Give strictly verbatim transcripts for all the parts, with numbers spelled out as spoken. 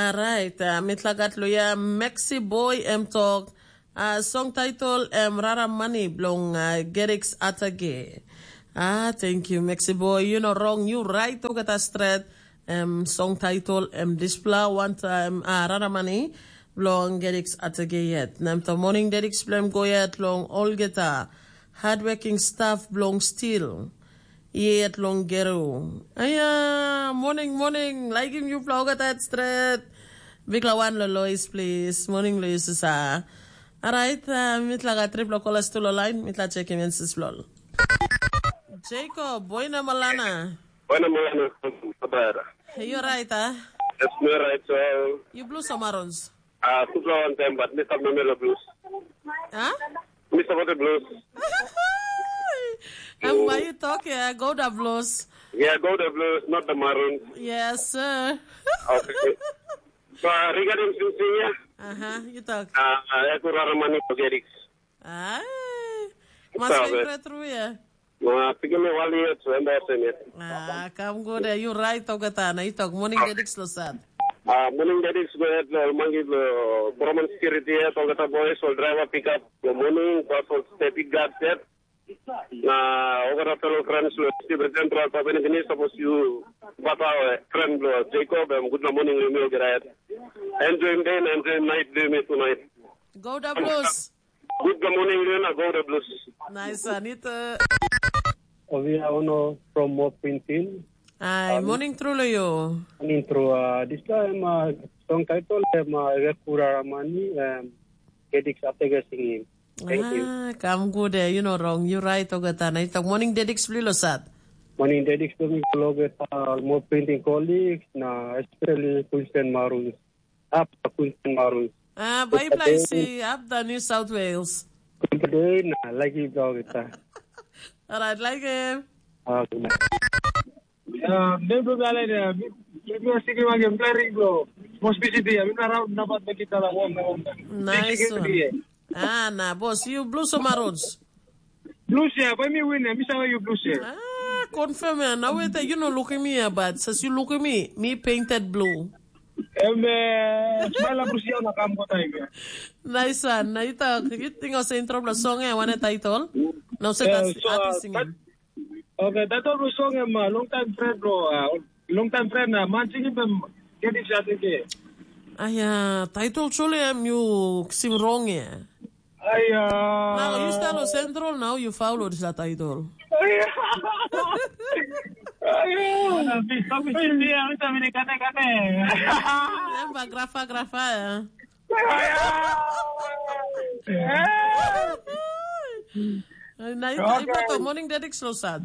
Orait, uh, mitla gat luya Mexi Boy em tok, uh, song title em Rara Mani bilong uh, Geriks Atage. Ah, thank you, Mexi Boy. You know wrong, you right, ogata stret. Em song title em dispela wantaim uh, Rara Mani bilong Geriks Atage yet. Na em to morning Geriks bilong em go yet long olgeta hardworking staff bilong stil. Yet long Geru. Aya, morning, morning. Laikim yupela olgeta stret. Bikla wan lo Lois, please. Morning, Lois, sa. Alright, uh, mitla gat tripla kolas tu lo line. Mitla check him and sis lol. Jacob, boina malana. Boina malana, Tabara. Hey, you right, ah? Yes, me right, so. You blew some arons. Ah, tupla wan time, but me stop me melo blues. Huh? Me stop the blues. And why you talk? Yeah, go the blues. Yeah, go the blues, not the maroons. Yes, sir. Okay. So, regarding Sinsinya, uh-huh, you talk. Uh, aku rara mani pageriks. Ai, mas favorite through ya. Ma pikinini wali yet, so enda sen yet. Ah, kam go de, you right, tau kata na itok morning dedicks lo sat. Ah, morning dedicks go yet lo mangi lo Broman security yet, tau kata boys, all driver pick up lo morning, bus all step it guard set. Na ogara fellow friends lo Steve Central, Papua New Guinea, suppose you bata friend lo Jacob, em good morning lo mi ogara yet. Enjoy day, enjoy night, do me tonight. Go da Blues. Good morning, Lena. Go the Blues. Nice, Anita. Ovia Ono from Mo Pintin. Hi, morning through lo you. Morning through. Uh, this time, uh, song title, um, uh, Rekura Ramani, um, Gedix Atega singing. Thank you. Ah, come good, eh, you know wrong. You right, Ogata. Na itok morning dedicks bli lo sat. Morning dedicks bli lo Ogata, Mo Pintin colleagues, na especially Queensland Maroons. Up to Queensland Maroons. Ah, bai play si up the New South Wales. Today na lagi vlog ita. Alright, like him. Okay. Uh, nem tu dale dia. Dia sigi magi play ring bro. Most busy dia. Mina round na bat bagi tala wong na wong. Nice one. Ah, na boss, you blue some roads. Blue share, bai mi win, mi save yu blue share. Ah, confirm ya. Now wait, you know, look at me, but since you look at me, me painted blue. Em, eh, smile up, Rusia, na kam kota ibe. Nice one. Na you talk, you think I say intro plus song, eh, one title? No, say that's so, artist singing. Okay, that all song, em, uh, long time friend, bro. Uh, long time friend, uh, man, singing them, get it, I think, eh. Aya, title chule em you sing wrong, eh. Aia. Now you start on Central, now you follow this title. Aia. Aia. Bisa, bisa, bisa, bisa, bisa, kane, kane. Lembah grafa, grafa, ya. Aia. Na itu, okay. Ibu to morning dedicks lo sad.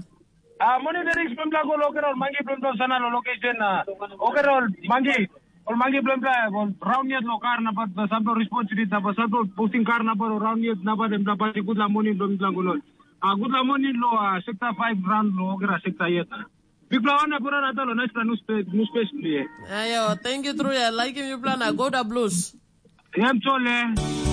Ah, moni de riks pempela go loker ol mangi pempela sana lo location na oker ol mangi ol mangi pempela ol round yet lo kar na bat sample responsibility na bat sample posting kar na bat round yet na bat em dapat good la moni pempela go lo. Ah, good la moni lo ah, sector five round lo oker ah, sector yet. Big la wana pura rata lo nice la nus pe nus pe sli. Ayo, thank you true ya. Like him you plan a go da blues. Em chole.